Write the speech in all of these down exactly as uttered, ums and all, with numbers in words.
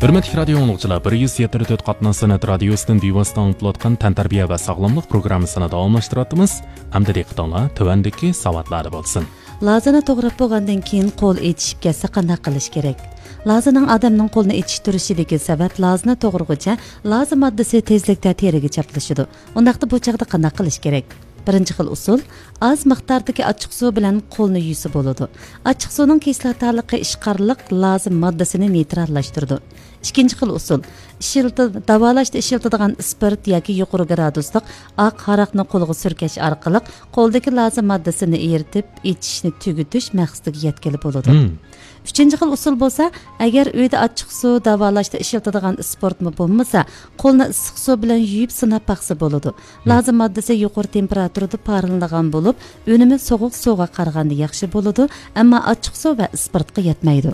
ھۆرمەتلىك رادىيو ئاڭلىغۇچىلار، بىر يۈز يەتتە نۆل تۆت قاتناش سەنئەت رادىيوسىدىن بىۋاسىتە ئاڭلىتىلىۋاتقان تەنتەربىيە ۋە ساغلاملىق پروگراممىسىنى داۋاملاشتۇرۇۋاتىمىز. ئەمدى دىققىتىڭلار تۆۋەندىكى ساۋاتلاردا بولسۇن. لازىنى توغراپ بولغاندىن كېيىن قول ئېچىشىپ كەتسە قانداق قىلىش كېرەك؟ لازىنىڭ ئادەمنىڭ قولىنى ئېچىشتۈرۈشىدىكى سەۋەب، لازىنى توغرىغۇچە لازا ماددىسى تېزلىكتە تېرىگە چاپلىشىدۇ. ئۇنداقتا بۇ چاغدا قانداق قىلىش كېرەك؟ بىرىنچى خىل ئۇسۇل، ئاز مىقداردىكى ئاچچىقسۇ بىلەن قولنى يۇسا بولىدۇ. ئاچچىقسۇنىڭ كىسلاتالىقى ئىشقارلىق لازا ماددىسىنى نېيتراللاشتۇرىدۇ. ئىككىنچى خىل ئۇسۇل، ئىشلىتىل-، داۋالاشتا ئىشلىتىدىغان ئىسپىرت ياكى يۇقىرى گرادۇسلۇق ئاق ھاراقنى قولغا سۈركەش ئارقىلىق قولدىكى لازا ماددىسىنى ئېرىتىپ، ئېچىشنى تۈگىتىش مەقسىتىگە يەتكىلى بولىدۇ. مم. ئۈچىنچى خىل ئۇسۇل بولسا، ئەگەر ئۆيدە ئاچچىقسۇ داۋالاشتا ئىشلىتىدىغان ئىسپىرتمۇ بولمىسا، قولنى ئىسسىقسۇ بىلەن يۇيۇپ سىناپ باقسا بولىدۇ. مم. لازا ماددىسى يۇقىرى تېمپېراتۇرىدا پارلىنىدىغان بولۇپ، ئۈنۈمى سوغۇق سۇغا قارىغاندا ياخشى بولىدۇ، ئەمما ئاچچىقسۇ ۋە ئىسپىرتقا يەتمەيدۇ.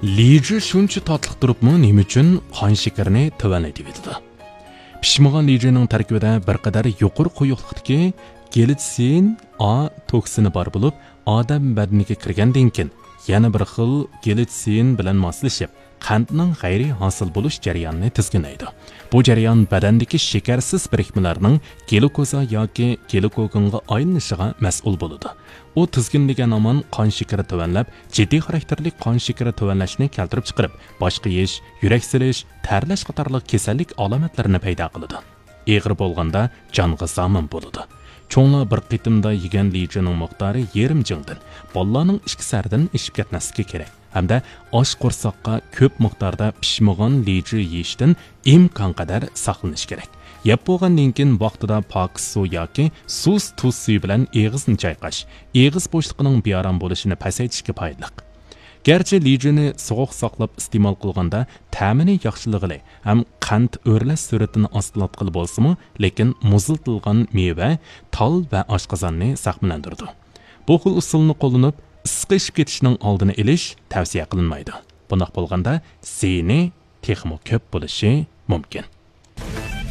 لىجۈ شۇنچە تاتلىق تۇرۇپمۇ نېمە ئۈچۈن قان شېكىرىنى تۆۋەنلىتىۋېتىدۇ؟ پىشمىغان لىجۈنىڭ تەركىبىدە بىر قەدەر يۇقىرى قويۇقلۇقتىكى گېلىتسىن ئا توكسىنى بار بولۇپ، ئادەم بەدىنىگە كىرگەندىن كېيىن يەنە بىر خىل گېلىتسىن بىلەن ماسلىشىپ، قەنتنىڭ غەيرىي ھاسىل بولۇش جەريانىنى تىزگىنلەيدۇ. بۇ جەريان بەدەندىكى شېكەرسىز بىرىكمىلەرنىڭ گلۇكوزا ياكى گلۇكوگېنغا ئايلىنىشىغا مەسئۇل بولىدۇ. ئۇ تىزگىنلىگەن ھامان قان شېكىرى تۆۋەنلەپ، جىددىي خاراكتېرلىك قان شېكىرى تۆۋەنلەشنى كەلتۈرۈپ چىقىرىپ، باش قېيىش، يۈرەك سېلىش، تەرلەش قاتارلىق كېسەللىك ئالامەتلىرىنى پەيدا قىلىدۇ. ئېغىر بولغاندا جانغا زامىن بولىدۇ. چوڭلار بىر قېتىمدا يېگەن لىجۈنىڭ مىقدارى يېرىم جىڭدىن، بالىلارنىڭ ئىككى سەردىن ئېشىپ كەتمەسلىكى كېرەك. ھەمدە ئاچ قورساققا كۆپ مىقداردا پىشمىغان لىجۈ يېيىشتىن ئىمكانقەدەر ساقلىنىش كېرەك. يەپ بولغاندىن كېيىن ۋاقتىدا پاكىز سۇ ياكى سۇس تۇز سۈيى بىلەن ئېغىزنى چايقاش، ئېغىز بوشلۇقىنىڭ بىئارام بولۇشىنى پەسەيتىشكە پايدىلىق. گەرچە لىجۈنى سوغۇق ساقلاپ ئىستېمال قىلغاندا تەمىنى ياخشىلىغىلى ھەم قەنت ئۆرلەش سۈرئىتىنى ئاستىلاتقىلى بولسىمۇ، لېكىن مۇزلىتىلغان مېۋە، تال ۋە ئاشقازاننى زەخىملەندۈرىدۇ. بۇ خىل ئۇسۇلنى قوللىنىپ، ئىسسىق ئېشىپ كېتىشنىڭ ئالدىنى ئېلىش تەۋسىيە قىلىنمايدۇ. بۇنداق بولغاندا زىيىنى تېخىمۇ كۆپ بولۇشى مۇمكىن.